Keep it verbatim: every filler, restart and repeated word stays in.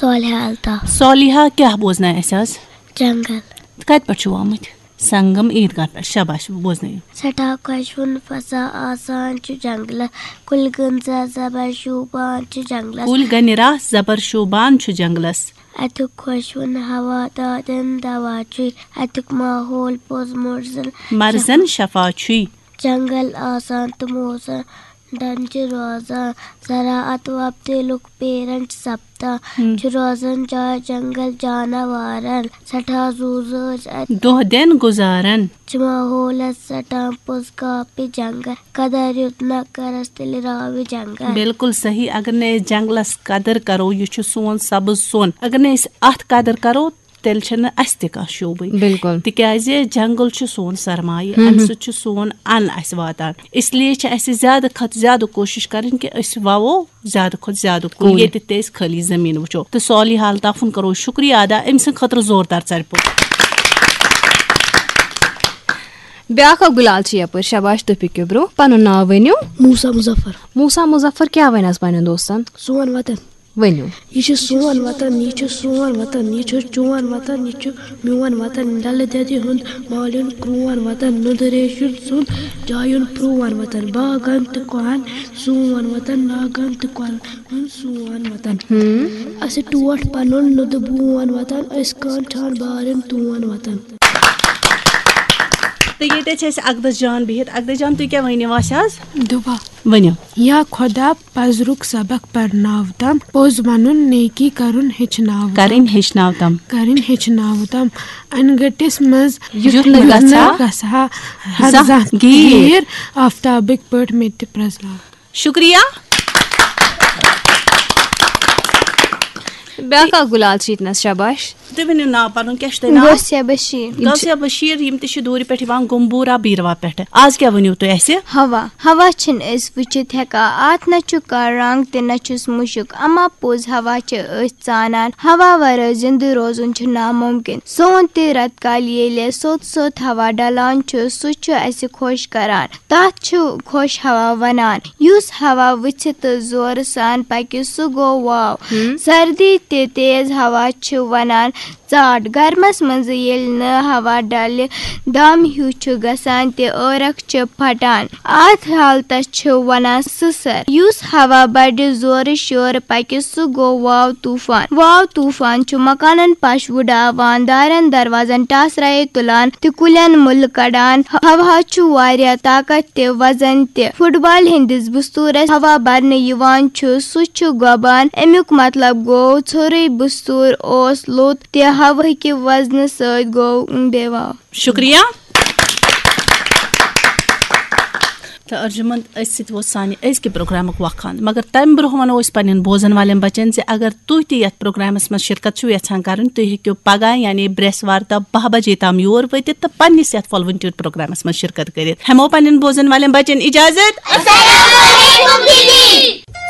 صالحہ الطاف۔ صالحہ، کیٛاہ بوزنایہِ اَسہِ آز؟ جنگل۔ کَتہِ پٮ۪ٹھ چھِو آمٕتۍ؟ سنگم عیٖدگاہ پٮ۪ٹھ۔ شاباش، بوزنٲیِو۔ سٮ۪ٹھاہ خۄشوُن فضا آسان چھُ جنگلس، کُلۍ گٔنزا زبر شوٗبان چھِ جنگلس۔ کُلۍ گٔنرا زبر شوٗبان چھُ جنگلس۔ اَتیُک خۄشوُن ہوا دادٮ۪ن دوا چھُے، اَتیُک ماحول پوٚز مرزن۔ مرزن شفا چھُے۔ جنگل آسان تہٕ موزن ڈن چھِ روزان، زراعت وۄپدِ لُکھ پیرن چھِ سپدان۔ ہم۔ چھُ روزان جاے جنگل جاناوارن، سٮ۪ٹھاہ زُو زٲژ اَتہِ۔ دۄہ دٮ۪ن گُزارن۔ چھِ ماحولس ژٹان پوٚز کاپہِ جنگل، قدر یُتھ نہ کرس تیٚلہِ راوِ جنگل۔ بالکل صحیح۔ اگر نہٕ أسۍ جنگلس قدر کرو، یہِ چھُ سون سبز سۄن، اگر نہٕ أسۍ اتھ قدر کرو، تیٚلہِ چھنہٕ اسہِ تہِ کانٛہہ شوٗبٕے۔ بالکل۔ تِکیازِ جنگل چھُ سون سرمایہِ، ہم۔ امہِ سۭتۍ چھُ سون ان اسہِ واتان۔ اس لیے چھِ اسہِ زیادٕ کھۄتہٕ زیادٕ کوٗشِش کرٕنۍ کہِ أسۍ وَوو زیادٕ کھۄتہٕ زیادٕ کُلۍ، کُلۍ۔ ییٚتہِ تہِ أسۍ خٲلی زٔمیٖن وٕچھو۔ تہٕ صالحہ الطافُن کرو شُکریہ ادا، أمۍ سٕنٛدِ خٲطرٕ زوردار ژَرِ پوٚٹ۔ بیٛاکھ اکھ گُلال چھِ یپٲرۍ۔ شاباش، تُہۍ پٔکِو برٛونٛہہ، پنُن ناو ؤنِو۔ موسا مظفر۔ موسا مظفر کیٛاہ وَنہِ آز پننٮ۪ن دوستن؟ سون وطن۔ ؤنِو۔ یہِ چھُ سون وطن، یہِ چھُ سون وطن، یہِ چھُ چون وطن، یہِ چھُ میون وطن۔ ڈلہٕ دٮ۪دِ ہُنٛد مالیُن کرون وطن، نُدٕ ریشُن سُنٛد جایُن پرون وطن۔ باغن تہٕ کۄہن سون وطن، ناگن تہٕ کۄلن ہُنٛد سون وطن۔ اَسہِ ٹوٹھ پنُن نُدٕ بون وطن، أسۍ کانٛہہ چھان بارن تون وطن۔ تہٕ ییٚتہِ چھِ أسۍ اقدس جان بِہِتھ۔ اقدس جان، تُہۍ کیٛاہ ؤنِو اَسہِ آز؟ دُبا۔ ؤنِو۔ یا خۄدا پزرُک سبق پرناو تم، پوٚز ونُن نیکی کرُن ہیٚچھناو تم۔ کرٕنۍ ہیٚچھناو تم۔ کرٕنۍ ہیٚچھناو تم۔ انگٹس منٛز یُتھ نہٕ گژھِ ہا۔ گژھِ ہا۔ زانٛہہ ہر زانٛہہ گیٖر۔ گیٖر آفتابٕکۍ پٲٹھۍ مےٚ تہِ پرزناو۔ شُکریہ۔ بیٛاکھ اکھ گُلال چھِ ییٚتنس۔ شاباش۔ تُہۍ ؤنِو ناو پنُن، کیٛاہ چھُ تۄہہِ ناو؟ غوثیہ بشیر۔ غوثیہ بشیر، یِم تہِ چھِ دوٗرِ پٮ۪ٹھ یِوان گمبورا بیٖروا پٮ۪ٹھ۔ آز کیٛاہ ؤنِو تُہۍ اَسہِ؟ ہوا۔ ہوا چھِنہٕ أسۍ وٕچھِتھ ہٮ۪کان، اَتھ نہ چھُ کانٛہہ رنٛگ تہِ نہ چھُس مُشُک، اما پوٚز ہوا چھِ أسۍ ژانان۔ ہوا ورٲے زِندٕ روزُن چھُ نامُمکِن۔ سون تہِ رٮ۪تہٕ کالہِ ییٚلہِ سوٚت سوٚت ہوا ڈلان چھُ، سُہ چھُ اَسہِ خۄش کران۔ تَتھ چھُ خۄش ہوا وَنان۔ یُس ہوا وٕژھِ تہٕ زورٕ سان پَکہِ، سُہ گوٚو واو۔ سردی تہِ تیز ہوا چھِ وَنان ژاٹھ۔ گرمس منٛز ییٚلہِ نہٕ ہوا ڈلہِ، دم ہیوٗ چھُ گژھان تہٕ عٲرق چھِ پھٹان۔ اتھ حالتس چھِ ونان سٕسر۔ یُس ہوا بڑِ زورٕ شورٕ پکہِ، سُہ گوٚو واو طوفان۔ واو طوفان چھُ مکانن پش وُڈاوان، دارٮ۪ن دروازن ٹاسرایے تُلان تہٕ کُلٮ۪ن مُلہٕ کڑان۔ ہوا چھُ واریاہ طاقت تہِ وزن تہِ۔ فٹ بال ہٕنٛدِس بستوٗرس ہوا برنہٕ یِوان چھُ، سُہ چھُ گۄبان۔ امیُک مطلب گوٚو ژھوٚرُے بستوٗر اوس لوٚت تہِ ہوہٕکہِ وزنہٕ سۭتۍ گوٚو بے واو۔ شُکریہ۔ تہٕ ارجُمنٛد، أتھۍ سۭتۍ ووت سانہِ أزکہِ پروگرامُک وقت اند۔ مگر تمہِ برونٛہہ ونو أسۍ پننٮ۪ن بوزن والٮ۪ن بچن زِ اگر تُہۍ تہِ یتھ پروگرامس منٛز شرکت چھِو یژھان کرٕنۍ، تُہۍ ہیٚکِو پگاہ یعنی برٛٮ۪سوار دۄہ باہ بجے تام یور وٲتِتھ تہٕ پننِس یتھ volunteer پروگرامس منٛز شرکت کٔرِتھ۔ ہٮ۪مو پننٮ۪ن بوزن والٮ۪ن بچن اجازت۔ السلام علیکم دیدی۔